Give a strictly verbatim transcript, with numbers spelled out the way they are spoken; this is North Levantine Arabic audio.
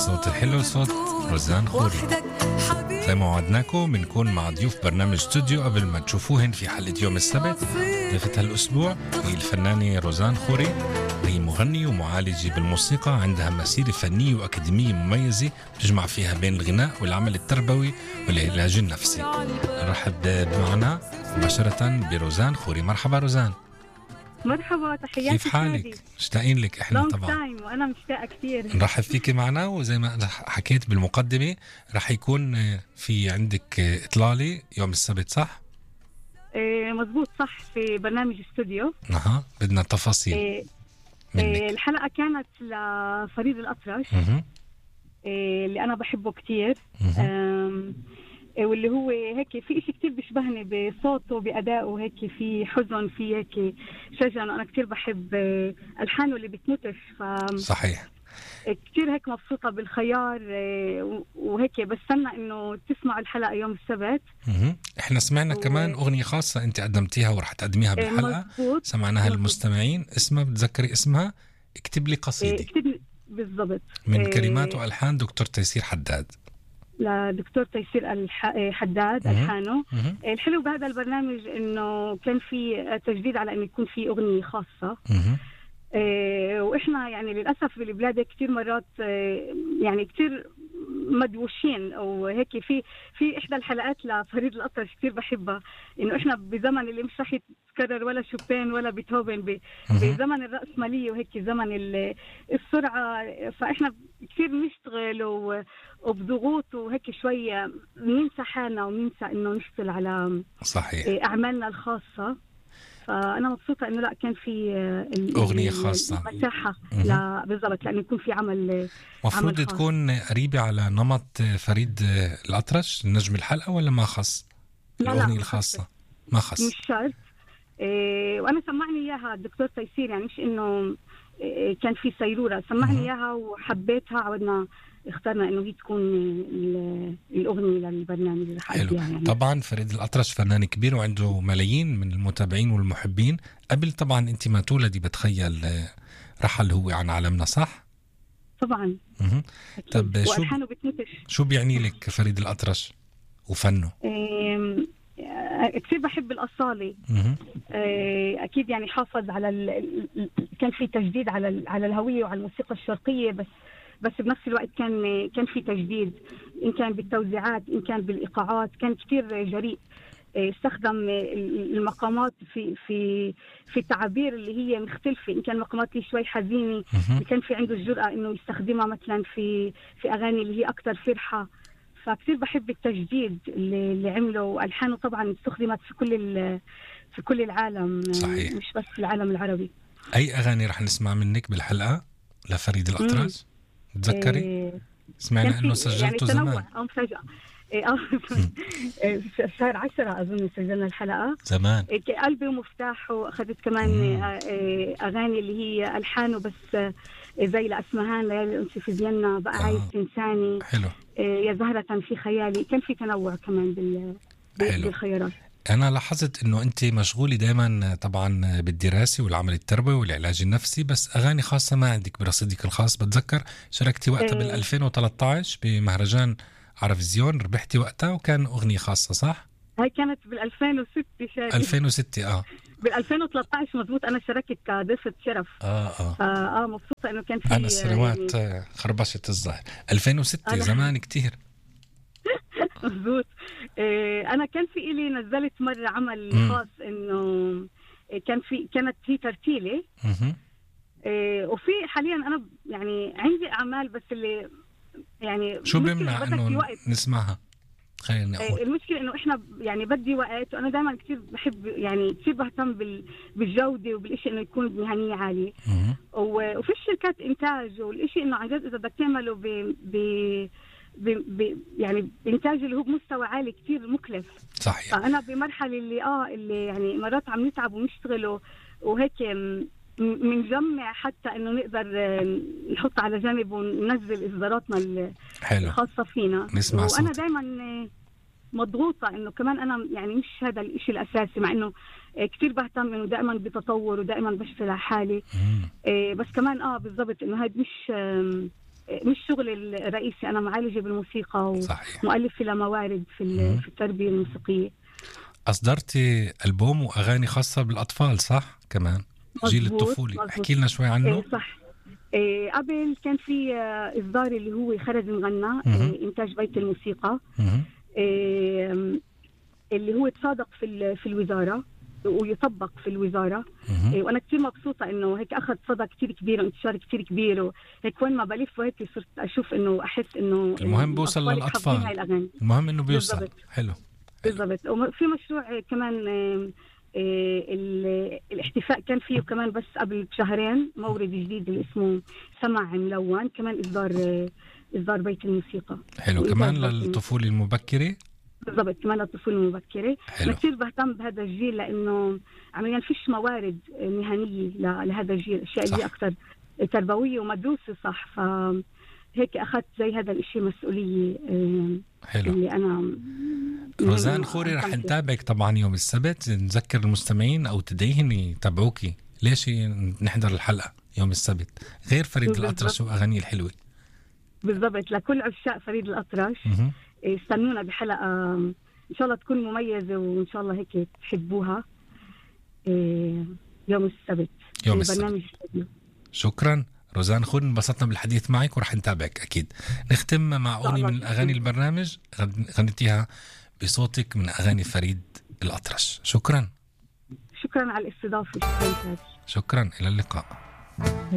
الصوت الحلو صوت روزان خوري. زي ما وعدناكم بنكون مع ضيوف برنامج استوديو قبل ما تشوفوهن في حلقة يوم السبت. ضيفة هالأسبوع هي الفنانة روزان خوري، هي مغنية ومعالجة بالموسيقى، عندها مسيرة فنية وأكاديمية مميزة تجمع فيها بين الغناء والعمل التربوي والعلاج النفسي. نرحب معنا مباشرة بروزان خوري. مرحبا روزان. مرحبا، تحياتي. كيف حالك؟ مشتاقين لك احنا طبعا. وانا مشتاقه كثير. نرحب فيك معنا، وزي ما حكيت بالمقدمه رح يكون في عندك اطلاله يوم السبت، صح؟ إيه مزبوط، صح، في برنامج استوديو. اها بدنا تفاصيل. إيه إيه الحلقه كانت لفريد الأطرش، إيه اللي انا بحبه كثير، واللي هو هيك في إشي كتير بيشبهني بصوته بأدائه، هيك في حزن، في هيك شجن. أنا كتير بحب ألحانه اللي بتموتش. ف... صحيح. كتير هيك مبسوطة بالخيار، وهيك بستنى إنه تسمعوا الحلقة يوم السبت. مه. إحنا سمعنا و... كمان أغنية خاصة أنت قدمتيها ورح تقدميها بالحلقة. مزبوط. سمعناها للمستمعين، اسمها بتذكري اسمها؟ اكتب لي قصيدة. اكتب بالضبط. من كلمات وألحان دكتور تيسير حداد. لدكتور تيسير الح... حداد ألحانه. الحلو بهذا البرنامج إنه كان في تجديد على إنه يكون في أغنية خاصة. إيه وإحنا يعني للأسف بالبلاد كتير مرات إيه يعني كتير مدوشين أو هيك. في في إحدى الحلقات لفريد الأطرش كتير بحبها، إنه إحنا بزمن اللي مش رح يتكرر ولا شوبين ولا بيتهوفن، بزمن الرأسمالية وهيك زمن السرعة. فإحنا كتير بنشتغل وبضغوط وهيك شوية بننسى حالنا وبننسى إنه نشتغل على صحيح أعمالنا الخاصة. فأنا مبسوطة إنه لا كان في أغنية خاصة مساحة لا بالضبط، لأنه يكون في عمل مفروض عمل تكون قريبة على نمط فريد الأطرش النجم الحلقة، ولا ما خص الأغنية الخاصة؟ ما خص، مش شرط. إيه وأنا سمعني إياها الدكتور تيسير، يعني مش إنه إيه كان في سيرورة، سمعني إياها وحبيتها، عودنا اخترنا إنه هي تكون الأغنية للبرنامج اللي حلو. يعني. طبعا فريد الأطرش فنان كبير وعنده ملايين من المتابعين والمحبين. قبل طبعا أنت ما تولدي بتخيل رحل هو عن عالمنا، صح؟ طبعا. طب شو شو بيعني لك فريد الأطرش وفنه؟ إيه كثير بحب الأصالة. إيه أكيد يعني حافظ على ال... كان في تجديد على ال... على الهوية وعلى الموسيقى الشرقية، بس بس بنفس الوقت كان كان في تجديد، إن كان بالتوزيعات إن كان بالإيقاعات. كان كتير جريء، استخدم المقامات في في في التعابير اللي هي مختلفة. إن كان مقامات اللي شوي حزينة كان في عنده الجرأة إنه يستخدمها مثلا في في أغاني اللي هي أكتر فرحة. فكتير بحب التجديد اللي, اللي عمله، وألحانه طبعا استخدمت في كل في كل العالم. صحيح. مش بس في العالم العربي. أي أغاني رح نسمع منك بالحلقة لفريد الأطرش؟ تذكري؟ إيه سمعنا إنه سجلته يعني زمان. أو فجأة إيه شهر عشرة أظن سجلنا الحلقة زمان. إيه قلبي ومفتاحه. أخذت كمان إيه أغاني اللي هي ألحانه بس إيه زي لأسمهان، ليالي الأنس في فيينا، بقى آه. عايز تنساني. حلو. إيه يا زهرة في خيالي. كان في تنوع كمان بال بالخيارات. أنا لاحظت إنه أنت مشغولة دائما طبعا بالدراسة والعمل التربوي والعلاج النفسي، بس أغاني خاصة ما عندك برصيدك الخاص. بتذكر شاركتي وقتها بال ألفين وثلاثة عشر بمهرجان عرفزيون، ربحتي وقتها وكان أغنية خاصة، صح؟ هاي كانت بال ألفين وستة شارك. ألفين وستة اه بال ألفين وثلاثة عشر مزبوط. أنا شاركت كضيفة شرف. اه اه اه مبسوطة إنه كان في. أنا السنوات يعني خربشت الظاهر. ألفين وستة زمان كتير. مزبوط. إيه أنا كان في إلي نزلت مرة عمل م. خاص إنه كان في كانت هي ترتيلة. إيه وفي حاليا أنا يعني عندي أعمال، بس اللي يعني شو بيمنع إنه نسمعها؟ خلينا نقول. إيه المشكلة إنه إحنا يعني بدي وقت، وأنا دائما كتير بحب يعني كتير بهتم بال بالجودة وبالإشي إنه يكون بمهنية عالية. وفي الشركات إنتاج والإشي إنه عن جد إذا بدك تعمله ب ب ب ب يعني إنتاج اللي هو بمستوى عالي كتير مكلف. صحيح. فأنا بمرحلة اللي آه اللي يعني مرات عم نتعب ونشتغل وهيك منجمع حتى إنه نقدر نحط على جانب وننزل إصداراتنا الخاصة فينا. نسمع وأنا دايما مضغوطة إنه كمان أنا يعني مش هذا الإشي الأساسي، مع إنه كتير بهتم إنه دائما بتطور ودائما بشتغل على حالي. بس كمان آه بالضبط إنه هاد مش مش شغل الرئيسي. أنا معالجة بالموسيقى ومؤلفة لموارد في في التربية الموسيقية. أصدرتي ألبوم وأغاني خاصة بالأطفال صح كمان؟ جيل الطفولي، احكي لنا شوي عنه. إيه صح. إيه قبل كان في إصدار اللي هو خرج مغنى إيه إنتاج بيت الموسيقى إيه اللي هو تصادق في في الوزارة ويطبق في الوزارة إيه وأنا كتير مبسوطة إنه هيك أخذ صدى كتير كبير وانتشار كتير كبير، وهيك وين ما بلف وهيك صرت أشوف إنه أحس إنه المهم بوصل للأطفال، المهم إنه بيوصل. بالزبط. حلو بالضبط. وفي مشروع كمان إيه الاحتفاء كان فيه كمان بس قبل شهرين مورد جديد اللي اسمه سمع ملون، كمان إصدار إصدار بيت الموسيقى. حلو كمان للطفولة المبكرة. بالضبط كمان للطفولة المبكرة. أنا كثير بهتم بهذا الجيل لأنه عمليا فيش موارد مهنية لهذا الجيل، أشياء اللي أكثر تربوية ومدروسة صح، فهيك أخذت زي هذا الشيء مسؤولية. حلو. اللي أنا روزان خوري رح نتابعك طبعا يوم السبت، نذكر المستمعين أو تدعيهم يتابعوكي. ليش نحضر الحلقة يوم السبت غير فريد الأطرش وأغانيه الحلوة؟ بالضبط. لكل عشاق فريد الأطرش استنونا بحلقة إن شاء الله تكون مميزة وإن شاء الله هيك تحبوها يوم السبت يوم السبت. شكرا روزان خوري، انبسطنا بالحديث معك ورح نتابعك أكيد. نختم مع أغنية من أغاني البرنامج غنيتيها بصوتك من أغاني فريد الأطرش. شكرا. شكرا على الاستضافة. شكرا. شكرا إلى اللقاء.